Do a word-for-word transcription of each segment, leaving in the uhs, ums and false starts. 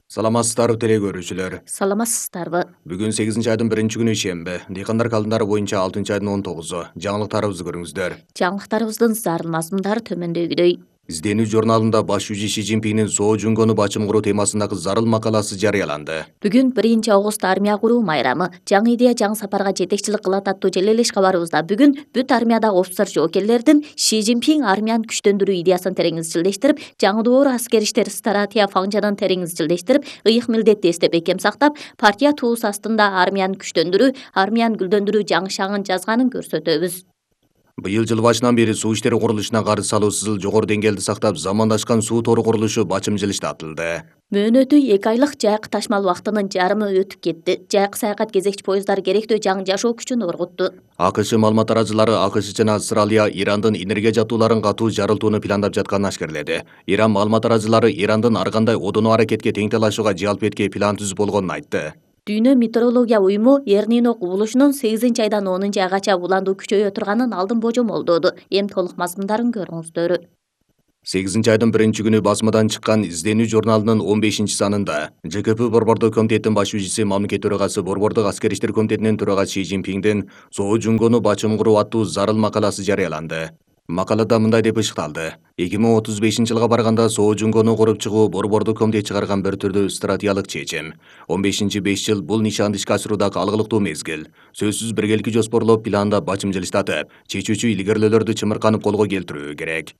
Саламатсыздарбы теле көрүүчүлөр. Саламатсыздарбы. Бүгүн сегизинчи айдын биринчи күнү ишемби. Дыйкандар календары боюнча алтынчы айдын он тогузу. Жаңылыктарыбызды көрүңүздөр. Жаңылыктарыбыздын зарыл мазмундары төмөндөгүдөй. Изденүү журналында баш жүзү Ши Цзиньпиндин Соо Жунгону бачым куруу темасындагы зарыл макаласы жарыяланды. Бүгүн биринчи август армия куруу майрамы. Жаңы идея жаңы сапарга жетекчилик кылат аттуу желелеш кабарыбызда бүгүн бүт армиядагы офицер жоокерлердин Ши Цзиньпин армияны күчтөндүрүү идеясын терең изчилдештирип, жаңы доор аскер иштер стратегия фаңжанын терең изчилдештирип, ыйык милдетти эстеп бекем сактап, партия туусу астында армияны күчтөндүрүү, армияны гүлдөндүрүү жаңы шагын жазганын көрсөтөбүз. Быйыл жыл башынан бери суу иштери курулушуна каршы салуусузул жогору деңгээлди сактап, замандашкан суу тору курулушу бачым жылыштатылды. Мөөнөтү эки айлык жайык ташмал убактынын жарымы өтүп кетти. Жайык саякат кезекчи поезддар керектүү жаңы жашоо күчүн оргутту. АКШ маалымат тараачылары АКШ жана Австралия Ирандын энергия жабдууларын катуу жарылтууну пландап жатканын ашкерледи. Иран маалымат тараачылары Ирандын ар кандай одоно аракетке тең талашууга жалп этке план түзүп болгонун айтты. Дүйнө метеорология уюму Эр-Нино кубулушунун сегизинчи айдан онунчу айгача уландуу күчөйө турганын алдын божомолдоду. Эми толук мазмундарын көрүңүздөр. сегизинчи айдын биринчи күнү басмадан чыккан Изденүү журналынын он бешинчи санында Ж К П Борбордук комитеттин баш жүзүчүсү мамлекет төрагасы Борбордук аскер иштер комитетинин төрагасы Ши Цзиньпиндин Соо Жунгону бачым куруу аттуу зарыл макаласы жарыяланды. Макалада мындай деп ышыкталды: эки миң отуз бешинчи жылга барганда Соо Жунгону куруп чыгуу Борбордук комитет чыгарган бир түрдүү стратегиялык чечим. он бешинчи беш жыл бул нишанды ишке ашырууда алгылыктуу мезгил. Сөзсүз биргеликти жоспорлоп, пландап, бачым жылыштатып, чечүүчү илгерилөөлөрдү чымырканып колго келтирүү керек.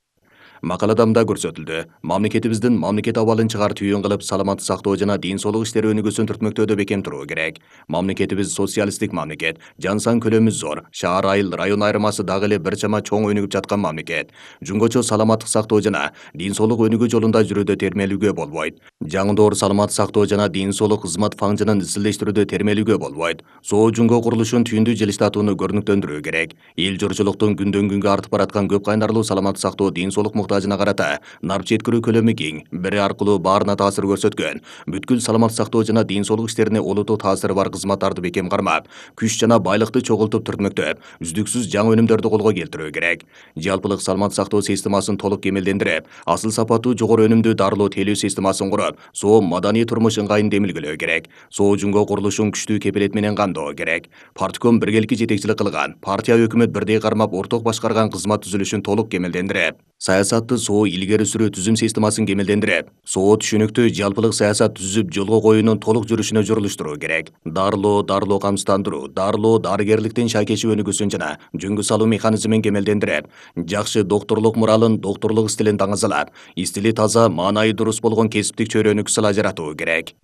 Макалада мындай көрсөтүлдү: мамлекетибиздин мамлекет абалын чыгар түйүн кылып, саламаттык сактоо жана ден соолук иштери өнүгүүсүн түртмөктөөдө бекем туруу керек. Мамлекетибиз социалисттик мамлекет, жан сан көлөмү зор, шаар айыл, район айырмасы дагы эле бир чама чоң өнүгүп жаткан мамлекет. Жунгочо саламаттык сактоо жана ден соолук өнүгүү жолунда жүрүүдө термелүүгө болбойт. Жаңы доор саламаттык сактоо жана ден соолук кызмат фаңжынын изчилдештирүүдө термелүүгө болбойт. Соо Жунго курулушун түйүндүү жылыштатууну көрүнүктөндүрүү керек. Эл журчулуктун күндөн күнгө артып бараткан көп кайнарлуу саламаттык сактоо, ден соолук муктажына карата нарп жеткирүү көлөмү кең, бири аркылуу баарына таасир көрсөткөн, бүткүл саламаттык сактоо жана ден соолук иштерине олуттуу таасири бар кызматтарды бекем кармап, күч жана байлыкты чогултуп түртмөктөп, үздүксүз жаңы өнүмдөрдү колго келтирүү керек. Жалпылык саламаттык сактоо системасын толук кемелдендирип, асыл сапаттуу жогору өнүмдүү дарылоо тейлөө системасын куруп, соо маданий турмуш ыңгайын демилгелөө керек. Соо Жунго курулушун күчтүү кепилет менен камдоо керек. Партком биргеликти жетекчилик кылган, партия өкмөт бирдей кармап, орток башкарган кызмат түзүлүшүн толук кемелдендирип, саясатты соо илгери сүрүү түзүм системасын кемелдендирип, соо түшүнүктүү жалпылык саясат түзүп жолго коюунун толук жүрүшүнө журулуштуруу керек. Дарылоо, дарылоо камсыздандыруу, дарылоо, дарыгерликтин шайкеши өнүгүүсүн жана жөнгө салуу механизмин кемелдендирип, жакшы докторлук муралын, докторлук стилин таңазалап, стили таза, маанайы дурус болгон кесиптик чөйрөнү кысыла жаратуу керек.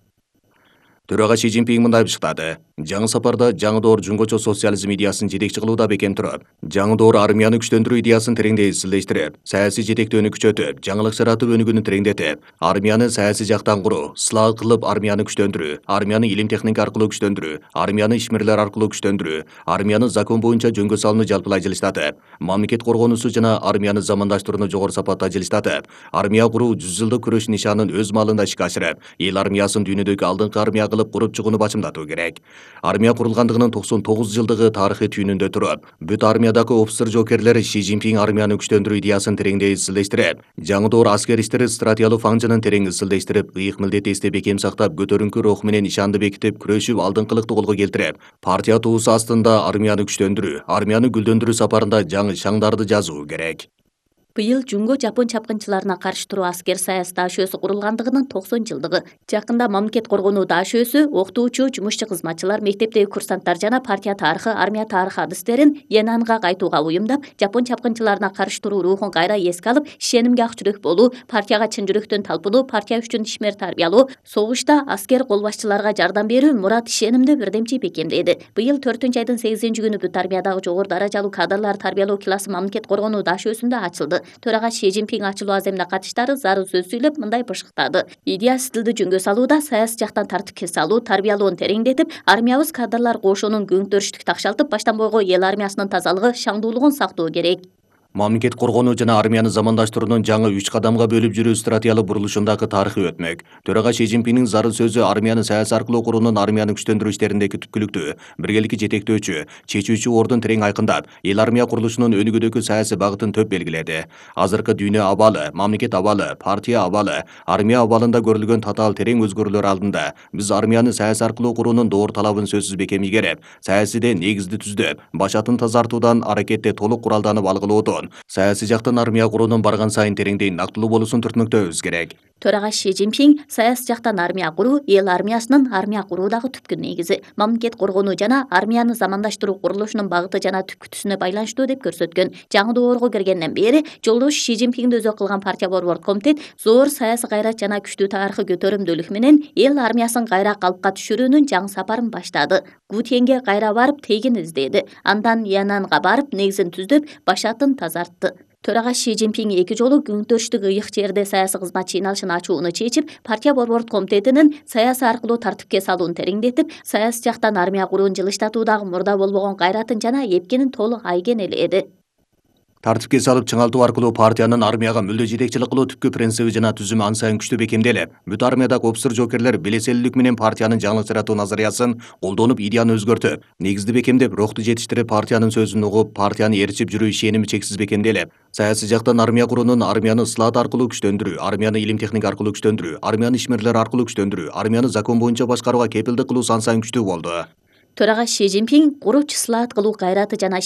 Төрага Ши Цзиньпин мындай бышыктады: жаңы сапарда жаңы доор жунгочо социализм идеясын жетекчи кылууда бекем туруп, жаңы доор армияны күчтөндүрүү идеясын тереңдей изчилдештирип, саясий жетектөөнү күчөтүп, жаңылык жаратып өнүгүүнү тереңдетип, армияны саясий жактан куруу, ысла кылып армияны күчтөндүрүү, армияны илим техника аркылуу күчтөндүрүү, армияны ишмерлер аркылуу күчтөндүрүү, армияны закон боюнча жөнгө салууну жалпылай жылыштатып, мамлекет коргоонусу жана армияны замандаштырууну жогору сапатта жылыштатып, армия куруу жүз жылдык күрөш нишанын өз маалында ишке ашырып, эл армиясын дүйнөдөгү алдыңкы армия кылып куруп чыгууну бачымдатуу керек. Армия курулгандыгынын токсон тогуз жылдыгы тарыхый түйүнүндө туруп, бүт армиядагы офицер жоокерлер Ши Цзиньпин армияны күчтөндүрүү идеясын тереңдей изчилдештирип, жаңы доор аскер иштери стратегиялык фаңжынын терең изчилдештирип, ыйык милдетти эстеп бекем сактап, көтөрүңкү рух менен ишанды бекитип, күрөшүп, алдыңкылыкты колго келтирип, партия туусу астында армияны күчтөндүрүү, армияны гүлдөндүрүү сапарында жаңы шаңдарды жазуу керек. Быйыл Жунго жапон чапкынчыларына каршы туруу аскер саясат дашөөсү курулгандыгынын токсон жылдыгы. Жакында мамлекет коргонуу дашөөсү, окутуучу, жумушчу кызматчылар, мектептеги курсанттар жана партия тарыхы, армия тарыхы адыстерин Янанга кайтууга уюмдап, жапон чапкынчыларына каршы туруу рухун кайра эске алып, ишенимге ак жүрөк болуу, партияга чын жүрөктөн талпынуу, партия үчүн ишмер тарбиялоо, согушта аскер кол башчыларга жардам берүү мурат ишенимди бирдемчи бекемдеди. Быйыл төртүнчү айдын сегизинчи күнү бүт армиядагы жогору даражалуу кадрлар тарбиялоо классы мамлекет коргонуу дашөөсүндө ачылды. Төрага Ши Цзиньпин ачылуу аземине катыштары зарыл сөз сүйлөп мындай бышыктады: идея стилди жөнгө салууда, саясий жактан тартипке салуу, тарбиялоону тереңдетип, армиябыз кадрлар кошунун көңүттөрүштүк такшалтып, баштан бойго эл армиясынын тазалыгы, шаңдуулугун сактоо керек. Мамлекет коргонуу жана армияны замандаштыруунун жаңы үч кадамга бөлүп жүрүү стратегиялык бурулушундагы тарыхы өтмөк. Төрага Си Цзиньпиндин зарыл сөзү армияны саясий аркылуу куруунун армияны күчтөндүрүү иштериндеги түпкүлүктүү, биргеликти жетектөөчү, чечүүчү ордун терең айкындап, эл армия курулушунун өнүгүүдөгү саясий багытын төп белгиледи. Азыркы дүйнө абалы, мамлекет абалы, партия абалы, армия абалында көрүлгөн татаал терең өзгөрүүлөр алдында биз армияны саясий аркылуу куруунун доор талабын сөзсүз бекем ийгереп, саясийде негизди түздөп, башатын тазартуудан, аракетте толук куралданып алгылоодон, саясий жактан армия куруунун барган сайын тереңдей нактылуу болуусун түртмөктөбүз керек. Төрага Си Цзиньпин саясий жактан армия куруу эл армиясынын армия куруудагы түпкү негизи, мамлекет коргонуу жана армияны замандаштыруу курулушунун багыты жана түпкүтүсүнө байланыштуу деп көрсөткөн. Жаңы доорго киргенден бери жолдош Си Цзиньпинди өзү кылган партия борбордук комитет зор саясий кайрат жана күчтүү тарыхый көтөрүмдүүлүк менен эл армиясын кайра калыпка түшүрүүнүн жаңы сапарын баштады. Гутьенге кайра барып тегин издеди. Андан Янанга барып негизин түздөп, башатын тазартты. Төрага Си Цзиньпин эки жолу күнтөрүштүк ыйык жерде саясий кызмат чыйналышын ачууну чечип, партия борбордук комитетинин саясий аркылуу тартипке салууну тереңдетип, саясий жактан армия куруун жылыштатуудагы мурда болбогон кайратын жана эпкинин толук айгенеледи. Тартипке салып чыңалтуу аркылуу партиянын армияга мүлдө жетекчилик кылуу түпкү принциби жана түзүмү ан сайын күчтүү бекемделип, бүт армиядагы офицер жоокерлер белеселүүлүк менен партиянын жаңылык жаратуу назариясын колдонуп, идеяны өзгөртүп, негизди бекемдеп, рухту жетиштирип, партиянын сөзүн угуп, партияны ээрчип жүрүү ишеними чексиз бекемделип, саясий жактан армия куруунун армияны ысылаат аркылуу күчтөндүрүү, армияны илим техника аркылуу күчтөндүрүү, армияны ишмерлер аркылуу күчтөндүрүү, армияны закон боюнча башкарууга кепилдик кылуусу ан сайын күчтүү болду. Төрага Си Цзиньпин курууч ысылаат кылуу кайраты жана